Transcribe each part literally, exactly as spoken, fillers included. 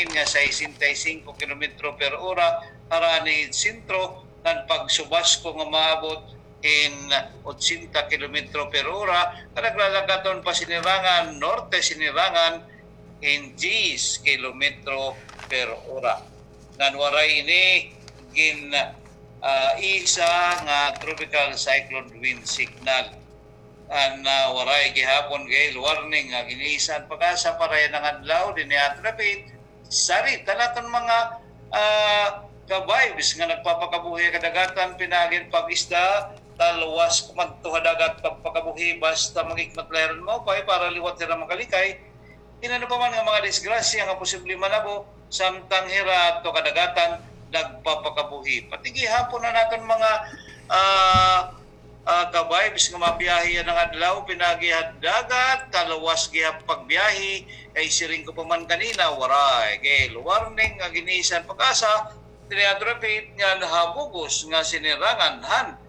nga sesenta y cinco kilometro per ora, harani sentro, ngan pagsubasko nga maabot in ochenta kilometro per ora, nga naglalakaton pa Sinirangan Norte, Sinirangan, in diyes kilometro per ora. Ngan waray ini gin, ah, isa nga tropical cyclone wind signal. An, ah, waray gihapon gale warning nga gin-isa an PAGASA para yana nga adlaw dinhi ha aton dapit. Sarita naton mga, ah, ka-vibes nga nagpapakabuhi ha kadagatan, pinaagi hin pag-isda, talwas kumadto ha dagat pagpakabuhi, basta mag-ikmat la hira hin maupay para liwat hira makalikay. Hin ano pa man nga mga disgrasya nga posible manabo, samtang hira adto kadagatan nagpapakabuhi. Pati gihapon an aton mga, ah, ah, ka-vibes nga mabiyahe yana nga adlaw, pinaagi ha dagat, talwas gihap pagbiyahe, kay siring ko pa man kanina, waray gale warning nga gin-isa an PAGASA, dinhi ha aton dapit ngan ha bug-os nga Sinirangan han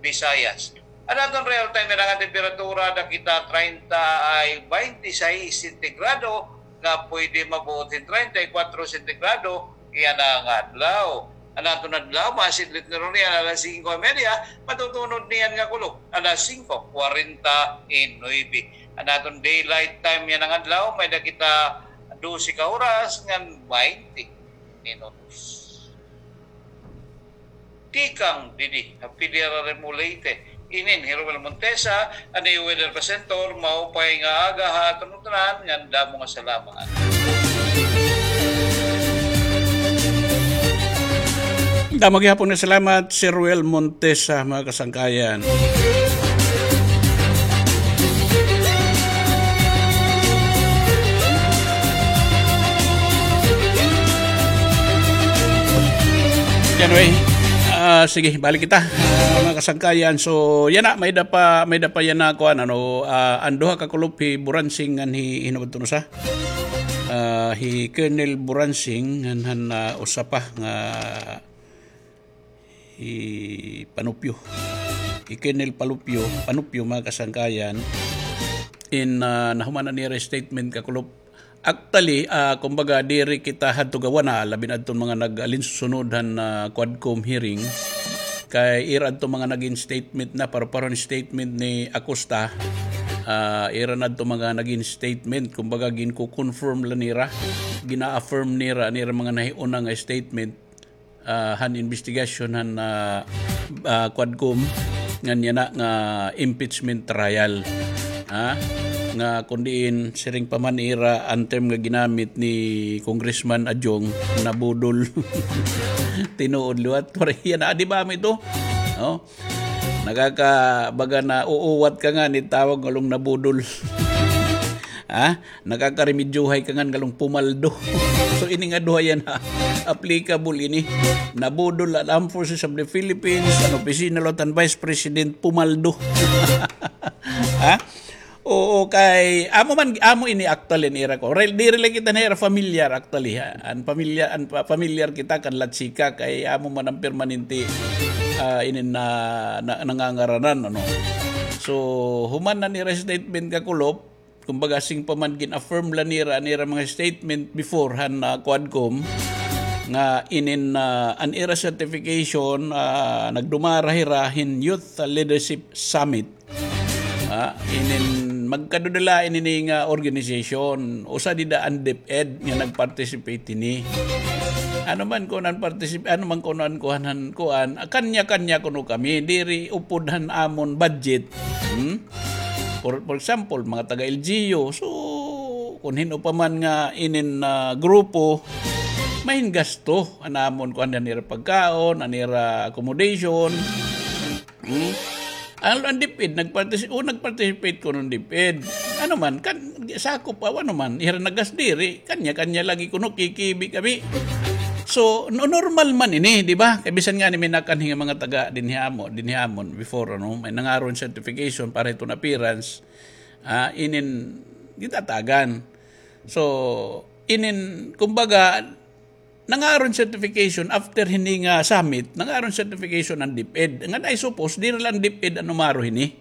Visayas. An aton real time yana nga temperatura, nakita treinta ay twenty-six sentigrado, nga pwede mabuot hin treinta y cuatro sentigrado yana nga adlaw. An aton adlaw, masidlit na runo yana alas singko y media, matutunod niyan nga kulop alas singko kwarenta y nuebe. An aton daylight time yana nga adlaw, may-ada kita dose ka oras ngan baynte minutos. Tikang dinhi ha Pilar, Arimo, Leyte, inin hi Romel Montesa, an iyo weather presenter. Maupay nga aga ha aton tanan, ngan damo nga salamat. Damo gihapon nga salamat, Sir Roel Montesa, mga kasangkayan. Anyway, ah, sige, balik kita, ah, mga kasangkayan. So, yana, may-ada pa, may-ada pa yana, kuan, ano, ah, an duha ka kulop, hi Buransing ngan hi, hin-o ba iton usa? Ah, hi Colonel Buransing ngan han, ah, usa pa nga hi Panupio. Hi Colonel Palupio, Panupio, mga kasangkayan. In, ah, nahuman na nira statement ka kulop. Actually, ah, kumbaga, diri kita hadto gawa na, labi na adton mga nag-alinsunod han, ah, Quadcom hearing. Kay ira adto mga nagin statement na, pareho-pareho hin statement ni Acosta. Ah, ira na adto mga nagin statement, kumbaga, ginko-confirm la nira, gina-affirm nira, nira mga nahiuna nga statement, ah, han investigasyon han, ah, ah, Quadcom ngan yana nga impeachment trial. Ha? Nga kon diin, siring pa man ira an term nga ginamit ni Congressman Adjong, nabudol. Tinuod liwat, waray yana, di ba, amo ito? No? Nakaka-, baga nauuwat ka ngani, tawag ngan nabudol. Ha? Nakakaremedyohay ka ngan ngan pumaldo. So, ini nga duha yana, applicable ini. Nabudol an Armed Forces of the Philippines, an opisina liwat han Vice President, pumaldo. Ha? Oo, kay amo man, amo ini actually an ira kuan. Diri la kita han ira familiar actually, ha. An familiar, an pa-, familiar kita kan Latsika, kay amo man an permanente, ah, inin na, na, nangangaranan, ano. So, human na an ira statement ka kulop, kumbaga, siring pa man gin-affirm la nira an ira mga statement before han, ah, Quadcom, nga inin, ah, an ira certification, ah, nagdumara hira hin Youth Leadership Summit. Ah, inin magkaduda la ini nga organization, usa dida an DepEd nga nag-participate hini. Ano man kuno an particip-, ano man kuno an kuan, han kuan, kanya-kanya kuno kami, diri upod han amon budget. Hmm? For, for example, mga taga-L G U, so, kon hin-o pa man nga inin, ah, grupo, main gasto an amon kuan, an ira pagkaon, an ira accommodation. Hmm? An, an DepEd, nagpartisi-, o, nagparticipate kuno an DepEd. Ano man, kan, sakop, ah, ano man, ira nagas diri, kanya-kanya lagi kuno, kikibi kami. So, no-, normal man ini, di ba? Kay bisan ngani may nakanhi nga mga taga dinhi amo, dinhi amon before, ano, may nangaro hin certification para hiton appearance, ah, inin gitatagan. So, inin, kumbaga, nangaro hin certification after hini nga summit, nangaro hin certification an DepEd. Ngan I suppose, diri la an DepEd an umaro hini.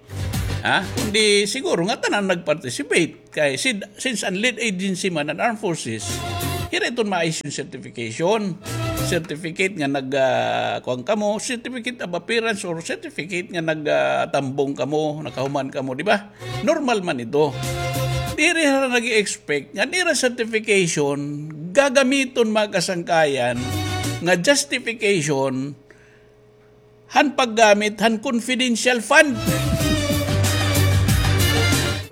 Ha? Kundi siguro nga tanan nag-participate. Kay sid-, since an lead agency man an Armed Forces, Ira iton ma-issue certification. Certificate nga nag, ah, kuan kamo, certificate of appearance or certificate nga nag, ah, tambong kamo, nakahuman kamo, di ba? Normal man ito. Diri hira nag-expect nga an ira certification gagamiton, mga kasangkayan, nga justification han paggamit han confidential fund.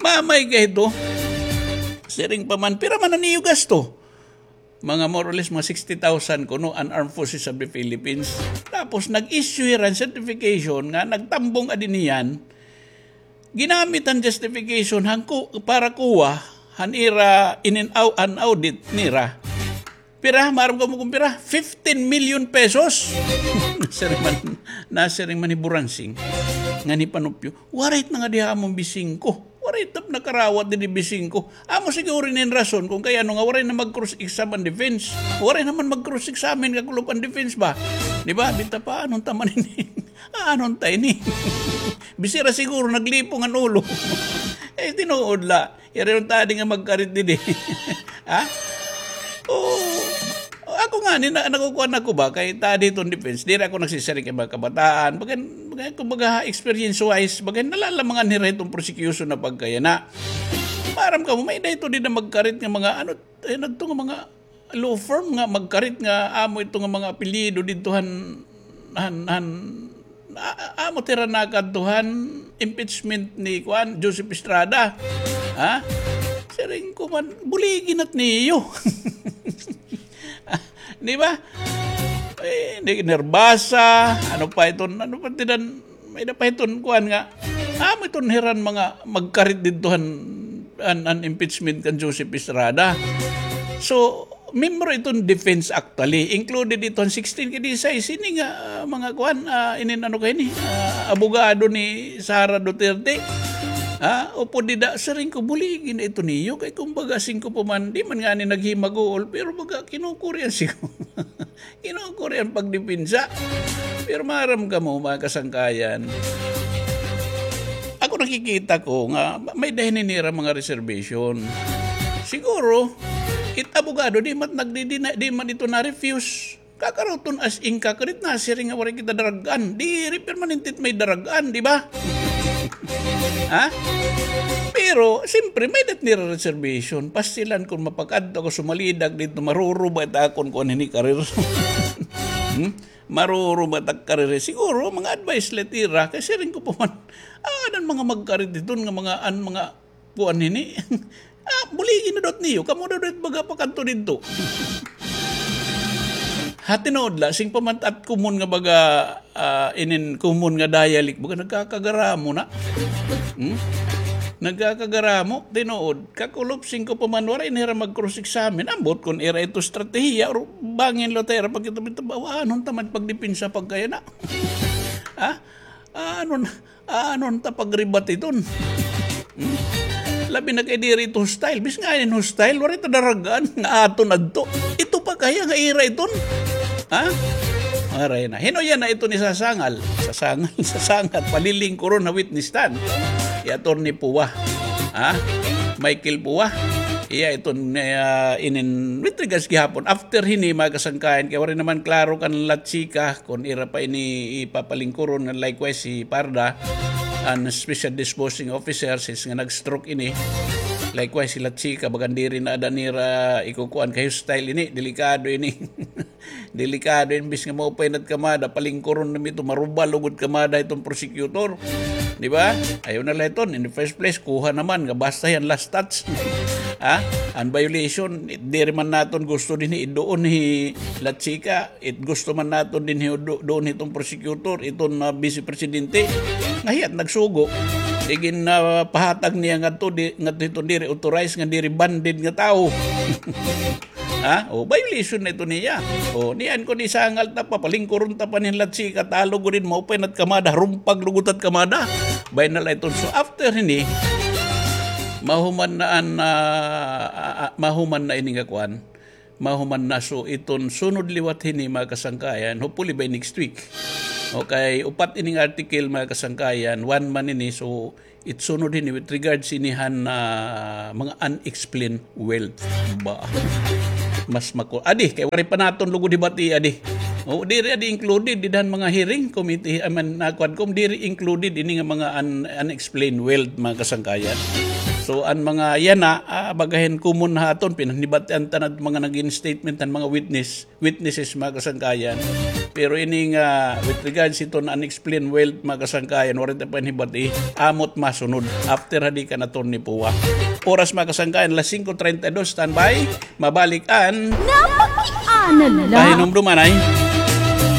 Mamay ka ito. Siring pa man, pira man an iyo gasto? Mga more or less, mga sixty thousand kuno an Armed Forces of the Philippines. Tapos nag-issue hira hin certification nga nagtambong adi niyan. Ginamit an justification han ku-, para kuha han ira inin-, au-, an audit nira. Pira? Maaram kamo kon pira? Fifteen million pesos. Nasiring man, nasiring man ni Buransing ngan hi Panupyo, "Waray na ngadi ha amon bisingko. Waray ta nakarawat didi bisingko." Amo siguro ini an rason kon kay ano nga waray na mag-cross-exam an defense. Waray naman mag-cross-examine kakulop an defense ba? Di ba? Bita pa, anon ta man ini? Anon ta ini? Bisira siguro naglipong an ulo. Eh, tinuod la. Ira iton tadi nga magkarit didi. Ha? Oo. Ako ngani, na-, nakukuan ako ba? Kay tadi iton defense. Diri ako nagsisiring kay mga kabataan. Bagan, bagan, kumbaga, experience-wise, bagan, nalalamangan nira iton prosecution na pagkayana. Maaram kamo, may-ada ito dida magkarit nga mga, ano, eh, nagto nga mga law firm nga magkarit nga amo ito nga mga apelyido didto han, han, han, a-, a-, amo tira nakadto han impeachment ni kuan, Joseph Estrada. Ha? Siring ko man, buligi na it niyo. Di ba? Eh, di, Nervasa, ano pa iton, ano pa tidan, may-ada pa iton kuan nga, amo iton hira an mga magkarit didto han, an, an impeachment kan Joseph Estrada. So, membro iton defense actually, included iton sixteen kay disay, sini nga, ah, mga kuan, ah, inin ano kay ni, ah, abogado ni Sara Duterte. Ha? Upod dida, siring ko, buligi na ito niyo, kay kumbaga, singko pa man, di man ngani naghimaguol, pero baga, kinukurian siguro. Kinukurian pagdepensa. Pero maaram kamo, mga kasangkayan, ako nakikita ko nga ma-, may-ada hini nira mga reservation. Siguro, it abogado, di man nagdidina-, di man ito na-refuse. Kakaruton as in kakarit na, siring nga waray kita darag-an. Diri permanente it may darag-an, di ba? Ha? Pero, siyempre, may-ada it nira reservation. Pastilan kon mapakadto ako sumalidag didto, maruruba it akon kuan hini karir. Hmm? Maruruba it ak karir. Siguro, mga advice la it ira. Kay siring ko pa man, ah, an mga magkarit iton nga mga, an mga kuan hini. Ah, buligi na daw it niyo. Kamo daw it baga pakadto didto. Ha, tinuod la, sing pa man it common nga baga, ah, inin common nga dialect, baga nagkakagaramo na. Hmm? Nagkakagaramo, tinuod. Kakulop, sing ko pa man, waray na hira mag-cross-examine. Ambot kon ira ito estratehiya, or bangin la ta ira pagkita-kita, ba, anon ta man pagdepensa pagkayana. Ha? Anon, anon ta pag-rebut iton? Hmm? Labi na kay diri ito hostile. Bisan nga inin hostile, waray ta darag-an nga aton adto. Ito pa kaya nga ira iton? Ha? Waray na. Hin-o yana iton isasangal? Sasangal, sasangal. Palilingkuron ha witness stand. Hi Attorney Pua. Ha? Michael Pua. Iya iton, ah, inin, with regards gihapon. After hini, mga kasangkayan, kay waray naman klaro kan La Chica, kon ira pa ini ipapalingkuron, nga likewise hi Parda, an special disposing officer, since nga nag-stroke ini. Likewise, hi La Chica, bagan diri na ada nira ikukuan kay hostile ini, delikado ini. Delikado ini, imbis nga maupay na it kamada, palingkuron na ito, marubal lugod kamada iton prosecutor. Di ba? Ayaw na la iton. In the first place, kuha naman nga basta hiya an last touch. Ha? An violation, it diri man naton gusto dinhi, iduon hi La Chica, it gusto man naton dinhi, idu-, duon hiton prosecutor, iton, ah, vice presidente. Nga hiya it nagsugo. Igin, ah, pahatag niya ngadto, di, ngadto hiton diri authorized nga diri banded nga tawo. Ha? O, violation na ito niya. O, niyan kon isangal ta pa, palingkuron ta pa ni La Chica, talo gud hin, maupay na it kamada, harumpag lugod it kamada. Bay na la iton. So, after hini, mahuman na an, ah, ah, ah, mahuman na ini nga kuan. Mahuman na. So, iton sunod liwat hini, mga kasangkayan, hopefully by next week. Okay, upat ining article, mga kasangkayan, one man ini. So, it sunod hini with regards ini han, ah, mga unexplained wealth. Ba? Mas mako, adi, kay waray pa naton lugod hibati, adi. O, diri adi included, dida han mga hearing committee, I mean, nakuan ko, diri included ini nga mga un-, unexplained wealth, mga kasangkayan. So, an mga yana, ah, baga hin common ha aton, pinanhibatian ta na mga nagin statement han mga witness, witnesses, mga kasangkayan. Pero ini nga, with regards ito na unexplained wealth, mga kasangkayan, waray ta pa hibati, amot masunod. After hadi kan attorney Pua. Oras, mga kasangkayan, alas singko treinta y dos, standby. Mabalik an Napakiana la. Pahinumduman ay.